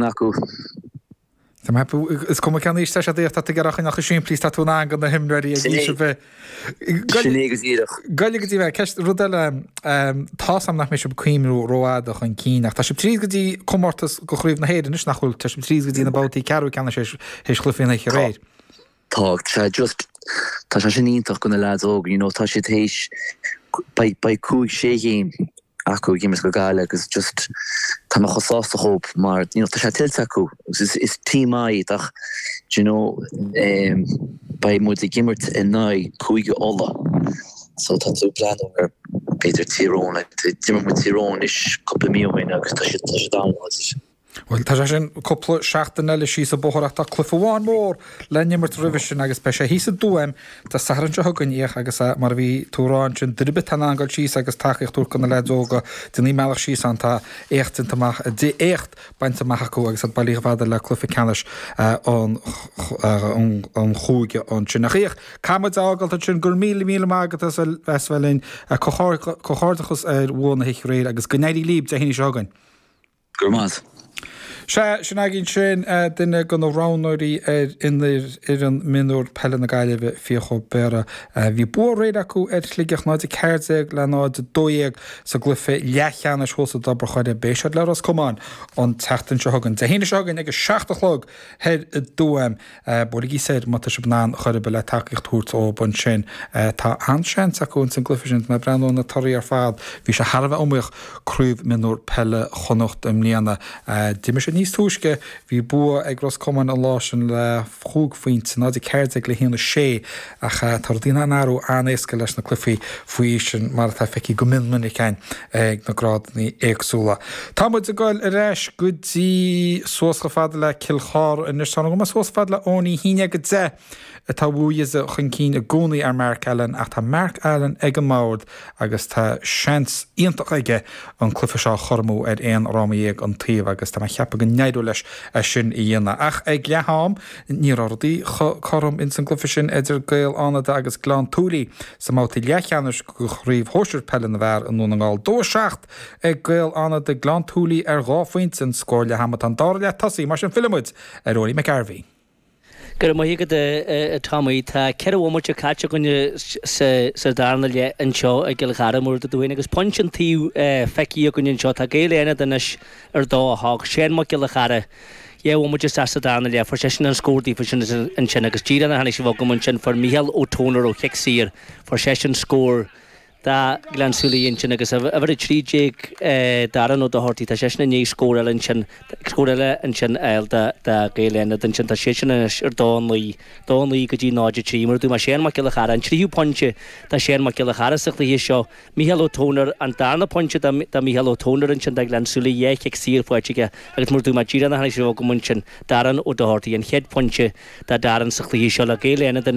acu. Tá mé ag ceapadh, is cuma cén aois atá siad, tá tú ag iarraidh a choinneáil chomh simplí is tá tú in ann do na himreoirí ag aois ar bith. Sin é go díreach. Goil go dtí mé, ceist, rud eile, tá's a'm nach mbeidh sibh ag cuimhniú rófhada chun cinn ach tá sibh tríd go dtí comórtas go Chraobh na hÉireann anois nach bhfuil? Tá sibh tríd go dtí na babhtaí ceathrú ceannais théis chluiche an oíche aréir. Tá, tá just, tá sé sin iontach do na leaids óga, you know, tá siad théis, beidh, beidh cúig, sé ghéim acu ag imirt go Gaillimh agus just tá mé chomh sásta dhób mar you know tá sé tuillte acu agus is, is team maith iad ach do you know um, beidh muid ag imirt in aghaidh Cúige Uladh so tá tú ag breathnú ar b'fhéidir Tír Eoghain, like, d'imir muid Tír Eoghain anois cúpla mí ó shin agus tá siad, tá siad an-láidir. Bhuel, tá sé sin cúpla seachtain eile síos an bóthar ach tá cluiche amháin mór le n-imirt roimhe sin agus beidh sé thíos i dTuaim Dé Sathairn seo chugainn, Fhiach, agus mar a bhí tú a rá ansin, duine ar bith atá in ann dul síos agus tacaíocht a thabhairt do na leaids óga, déanaigí an bealach síos ann, tá éacht déanta amach, éacht bainte amach acu agus iad bailithe chomh fada le cluiche ceannais an chúige ansin. Ach Fhiach, caithfidh muid a fhágáilt ansin, go raibh míle míle maith agat as a bheith linn, comhghairdeachas ar bhua na hoíche aréir agus go n-éirí libh Dé hAoine seo chugainn. Go raibh maith. Sea, sin againn sin, duine de na roghnóirí ar fhoireann mionúr peile na Gaillimhe, Fiach Ó Béarra. Bhí bua aréir acu ar Shligeach, 0-14 le 0-12 sa gcluiche leathcheannais thuas i dTobar Choire. Beidh siad le Ros Comáin an tseachtain seo chugainn, Dé haoine seo chugainn ag a 7 a chlog thoir i dTuaim. Buailigí soir má tá sibh in ann chor ar bith le tacaíocht a thabhairt dóibh ansin. Tá an-seans acu ins an gcluiche sin. Tá mé ag breathnú ar na torthaí ar fad. Bhí sé thar a bheith iomaíoch Craobh Mionúr Peile Chonnacht i mbliana. D'imir siad níos túisce. Bhí bua ag Ros Comáin an lá sin le chúig phointe, 0-14 le 1-6, ach tá rudaí in ann athrú an-éasca leis na cluichí faoi aois sin mar atá feicthe go mion minic againn ag na grádanna éagsúla. Tá muid ag dul ar ais go dtí suas chomh fada le Cill Chartha anois. Tá mé suas chomh fada le Eoin Uí 1-10 atá Bhuaidhe chun cinn i gcónaí ar Mark Allen ach tá Mark Allen ag an mbord agus tá seans iontach aige an cluiche seo a chothromú ar aon fhráma dhéag an taobh agus tá mé ag ceapadh go n-éireoidh leis é sin a dhéanamh. Ach ag leath am ní raibh rudaí chomh cothrom ins an gcluiche sin idir Gaeil Fhánada agus Gleann tSúilí sa mbabhta leathcheannais de Chraobh Shóisir Peile na bhFear i nDún na nGall. 2-7 ag Gaeil Fhánada, Gleann tSúilí ar dhá phointe an scór leath ama. Tá an dara leath tosaithe, mar sin fillfidh muid ar Owenie McGarvey. Go raibh maith agat a Tommy. Tá ceithre bhomaite caite againne sa darna leath anseo i gCill Chartha mar a dúirt tú féin agus pointe an taobh feicthe againne anseo. Tá Gaeil Fhánada anois ar 2-8. Seán Mac Giolla Chearra, dhá bhomaite isteach sa darna leath, fuair seisean an scór daofa sin ansin agus díreach nuair a tháinig sibh chugam ansin fuair Mícheál Ó Tónair ó chic saor, fuair seisean scór do Ghleann tSúilí ansin agus uimhir 13 Darren Ó Dochartaigh, tá seisean i ndiaidh scór eile ansin, scór eile ansin a fháil do Ghaeil Fhánada ansin, tá siadsan anois ar 2-9, 2-9 go dtí 0-3. Mar a dúirt mé, Seán Mac Giolla Chearra, an tríú pointe do Sheán Mac Giolla Chearra sa chluiche seo, Mícheál Ó Tónair, an darna pointe do Mhícheál Ó Tónair ansin do Ghleann tSúilí, dhá chic saor faighte aige agus mar a dúirt mé, díreach nuair a tháinig sibh chugam ansin, Darren Ó Dochartaigh, an chéad phointe do Darren sa chluiche seo le Gaeil Fhánada anois.